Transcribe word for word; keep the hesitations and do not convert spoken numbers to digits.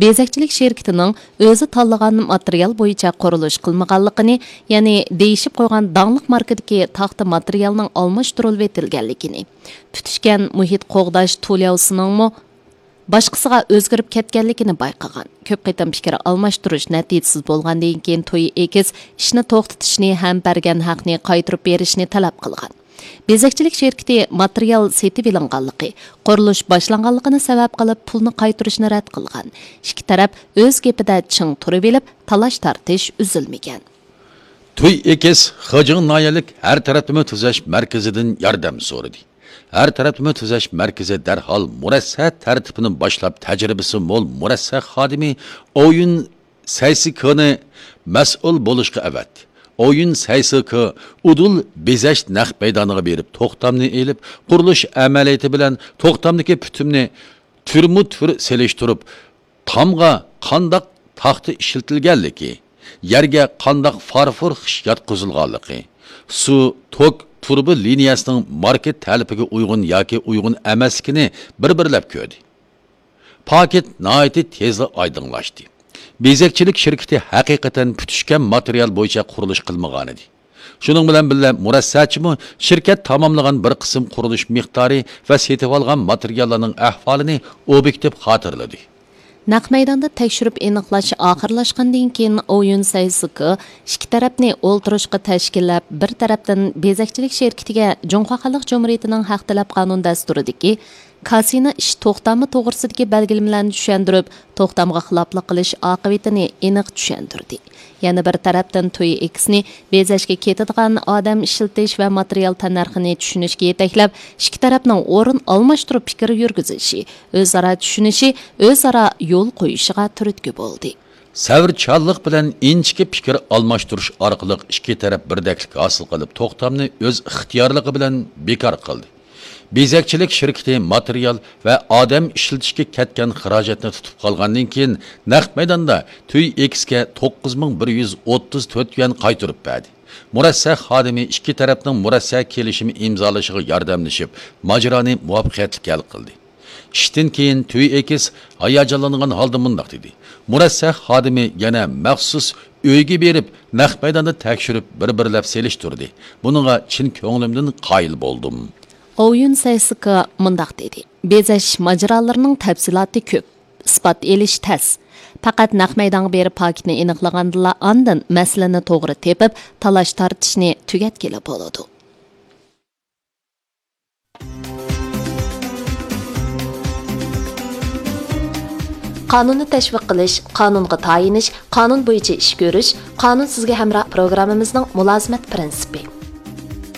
بېزەكچىلىك شىركىتىنىڭ ئۆزى تاللىغان ماتېرىيال بويىچە قۇرۇلۇش قىلمىغانلىقىنى، يەنى دېيىشىپ قويغان داڭلىق ماركىدىكى تاختا ماتېرىيالنىڭ ئالماشتۇرۇلۇۋېتىلگەنلىكىنى، تۈتۈشكەن مۇھىت قوغداش تۇلياۋسىنىڭمۇ باشقىسىغا ئۆزگىرىپ كەتكەنلىكىنى بايقىغان. كۆپ قېتىم پىكىر ئالماشتۇرۇش نەتىجىسىز بولغاندىن كېيىن، توي ئېكس ئىشنى توختىتىشنى ھەم بەرگەن ھەقنى قايتۇرۇپ بېرىشنى تەلەپ قىلغان. بېزەكچىلىك شىركىتى ماتېرىيال سېتىۋېلىنغانلىقى، قۇرۇلۇش باشلانغانلىقىنى سەۋەب قىلىپ، پۇلنى قايتۇرۇشنى رەت قىلغان. ئىككى تەرەپ ئۆز گېپىدە چىڭ تۇرۇۋېلىپ، تالاش-تارتىش ئۈزۈلمىگەن. توي ئېكس خېجىڭ ناھىيەلىك ھەر تەرەپلىمە تۈزەش مەركىزىدىن ياردەم سورىدى. ھەر تەرەپلىمە تۈزەش مەركىزى دەرھال مۇرەسسە تەرتىپىنى باشلاپ، تەجرىبىسى مول مۇرەسسە خادىمى ئويۇن سەيسىكىنى مەسئۇل بولۇشقا ئەۋەتتى. ئويۇن سەيسىكى ئۇدۇل بېزەش نەق مەيدانىغا بېرىپ، توختامنى ئېلىپ، قۇرۇلۇش ئەمەلىيىتى بىلەن توختامدىكى پۈتۈمنى تۈرمۇ تۈر سېلىشتۇرۇپ، تامغا قانداق تاختا ئىشلىتىلگەنلىكى، يەرگە قانداق فارفور خىش ياتقۇزۇلغانلىقى، سۇ، توك، تۇرۇبا لىنىيەسىنىڭ ماركېت تەلىپىگە ئۇيغۇن ياكى ئۇيغۇن ئەمەسلىكىنى بىر-بىرلەپ كۆردى. پاكىت ناھايىتى تېزلا ئايدىڭلاشتى. بېزەكچىلىك شىركىتى ھەقىقەتەن پۈتۈشكەن ماتېرىيال بويىچە قۇرۇلۇش قىلمىغانىدى. شۇنىڭ بىلەن بىللە، مۇرەسسەچىمۇ شىركەت تاماملىغان بىر قىسىم قۇرۇلۇش مىقدارى ۋە سېتىۋالغان ماتېرىياللارنىڭ ئەھۋالىنى ئوبيېكتىپ خاتىرىلىدى. نەق مەيداندا تەكشۈرۈپ ئېنىقلاش ئاخىرلاشقاندىن كېيىن، ئويۇن سەيسىكى ئىككى تەرەپنى ئولتۇرۇشقا تەشكىللەپ، بىر تەرەپتىن بېزەكچىلىك شىركىتىگە جۇڭخۇا خەلق جۇمھۇرىيىتىنىڭ ھەق تەلەپ قانۇن دەستۇرىدىكى كاسىنا ئىش توختامى توغرىسىدىكى بەلگىلىمىلەرنى چۈشەندۈرۈپ، توختامغا خىلاپلىق قىلىش ئاقىۋىتىنى ئېنىق چۈشەندۈردى. يەنە بىر تەرەپتىن، توي ئېكسنى بېزەشكە كېتىدىغان ئادەم ئىشلىتىش ۋە ماتېرىيال تەننەرخىنى چۈشىنىشكە يېتەكلەپ، ئىككى تەرەپنىڭ ئورۇن ئالماشتۇرۇپ پىكىر يۈرگۈزۈشى، ئۆزئارا چۈشىنىشى، ئۆزئارا يول قويۇشىغا تۈرتكە بولدى. سەۋرچانلىق بىلەن ئىنچىكە پىكىر ئالماشتۇرۇش ئارقىلىق ئىككى تەرەپ بىردەكلىك ھاسىل قىلىپ، توختامنى ئۆز ئىختىيارلىقى بىلەن بىكار قىلدى. بېزەكچىلىك شىركىتى ماتېرىيال ۋە ئادەم ئىشلىتىشكە كەتكەن خىراجەتنى تۇتۇپ قالغاندىن كېيىن، نەق مەيداندا توي ئېكسكە توققۇز مىڭ بىر يۈز ئوتتۇز تۆت يۈەن قايتۇرۇپ بەردى. مۇرەسسە خادىمى ئىككى تەرەپنىڭ مۇرەسسە كېلىشىمى ئىمزالىشىغا ياردەملىشىپ، ماجىرانى مۇۋەپپەقىيەتلىك ھەل قىلدى. ئىشتىن كېيىن توي ئېكس ھاياجانلانغان ھالدا مۇنداق دېدى: مۇرەسسە خادىمى يەنە مەخسۇس ئۆيگە بېرىپ، نەق مەيداندا تەكشۈرۈپ، بىر-بىرلەپ سېلىشتۇردى. بۇنىڭغا چىن كۆڭلۈمدىن قايىل بولدۇم. ئويۇن سەيسىكا مۇنداق دېدى: بېزەش ماجىرالىرىنىڭ تەپسىلاتى كۆپ، ئىسپات ئېلىش تەس. پەقەت نەق مەيدانغا بېرىپ پاكىتنى ئېنىقلىغاندىلا، ئاندىن مەسىلىنى توغرا تېپىپ، تالاش-تارتىشنى تۈگەتكىلى بولىدۇ. قانۇننى تەشۋىق قىلىش، قانۇنغا تايىنىش، قانۇن بويىچە ئىش كۆرۈش، قانۇن سىزگە ھەمراھ پروگراممىمىزنىڭ مۇلازىمەت پىرىنسىپى.